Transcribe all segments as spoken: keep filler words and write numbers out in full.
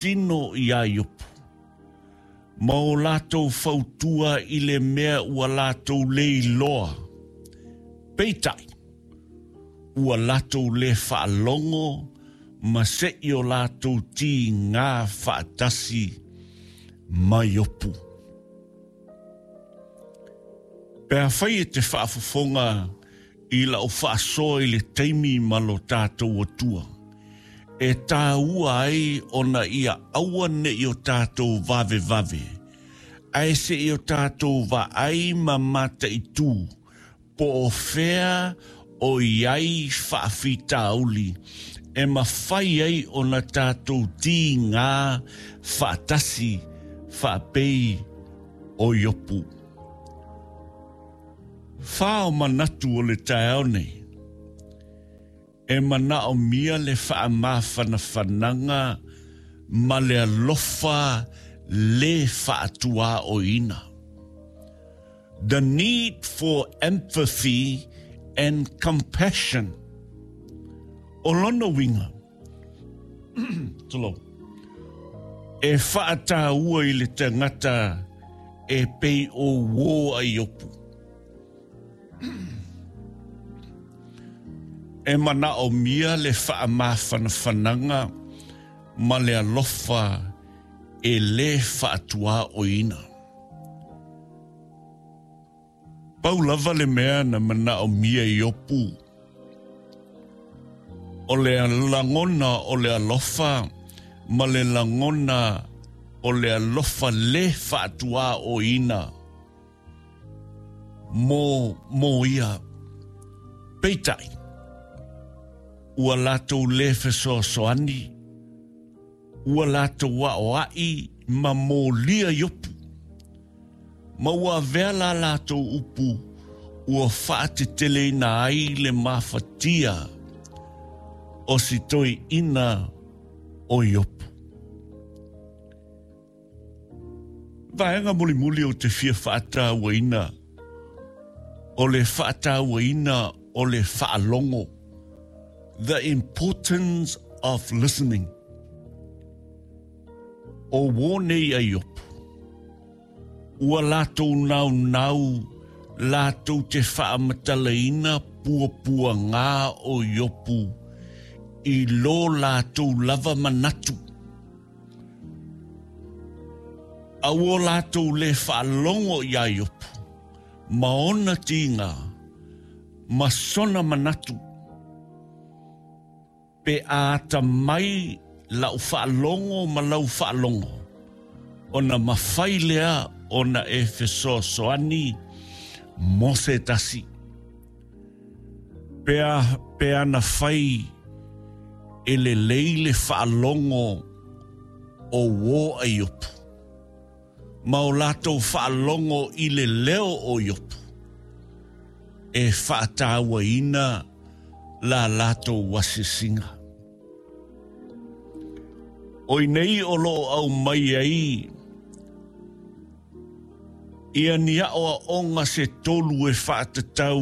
Tino iā Iopu, ma o latou fautua i le mea ua latou le iloa, peitai, ua latou le faalogo ma se'i o latou tigā faatasi ma Iopu. Pe afai e te faafofoga i lau faasoa i le taimi ma lo tatou Atua, e tāua ai ona ia aua ne'i o tatou vavevave, ae se'i o tatou vaai ma mataitū, po o fea o i ai faafitauli e mafai ai ona tatou tigā faatasi faapei o Iopu. Fa o manatu o le taeao nei, e manaomia le faamafanafanaga ma le alofa le faatuaoina. The need for empathy and compassion. O lona uiga, tulou, e faataua i le tagata e pei o uō a Iopu. E manaomia le faamafanafanaga ma le alofa e le faatuaoina. Pau lava le mea na manaomia e Iopu, o le lagona o le alofa ma le lagona o le alofa le faatuaoina mo, mo ia. Peitai, ua latou le fesoasoani, ua latou aoa'i ma molia Iopu, ma ua avea la latou upu ua faateteleina ai le mafatia o si toeaina o Iopu. Vaega mulimuli o te fia faatauaina, o le faatauaina o le faalogo. The importance of listening. O uō nei a Iopu, ua latou naunau latou te faamatalaina puapuagā o Iopu i lo latou lava manatu. A ua latou le faalogo iā Iopu, ma ona tiga, ma sona manatu. Pe a atamai lau faalogo ma lau faalogo, ona mafai lea ona e fesoasoani mo se tasi. Pe a, pe ana fai e lelei le faalogo o uō a Iopu, ma o latou faalogo i le leo o Iopu, e faatauaina la latou asiasiga. O i nei o loo aumai ai ia ni aoaoga se tolu e faatatau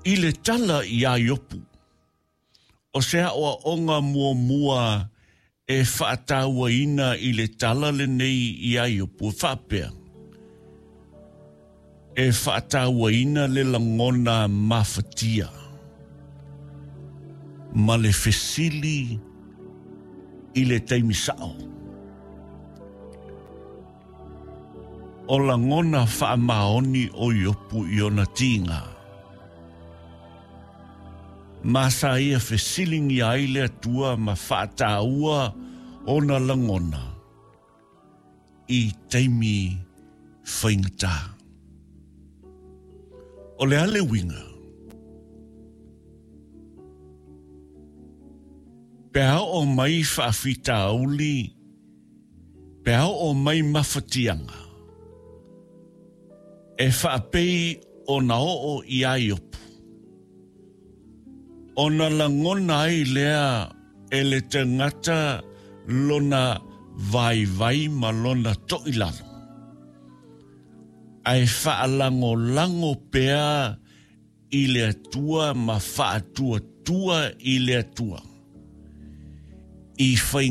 i le tala iā Iopu. O se aoaoga muamua e faatauaina i le tala lenei iā Iopu e faapea, e faatauaina le lagona mafatia ma le fesili i le taimi sa'o. O lagona faamaoni o Iopu i ona tiga, ma sa ia fesiligia ai le Atua ma faataua ona lagona i taimi faigata. O le a le uiga? Pe a oo mai faafitauli, pe a oo mai mafatiaga, e faapei ona oo iā Iopu, ona lagona ai lea e le tagata lona vaivai ma lona to'ilalo, ae faalagolago pea i le Atua ma faatuatua i le Atua. I faiga.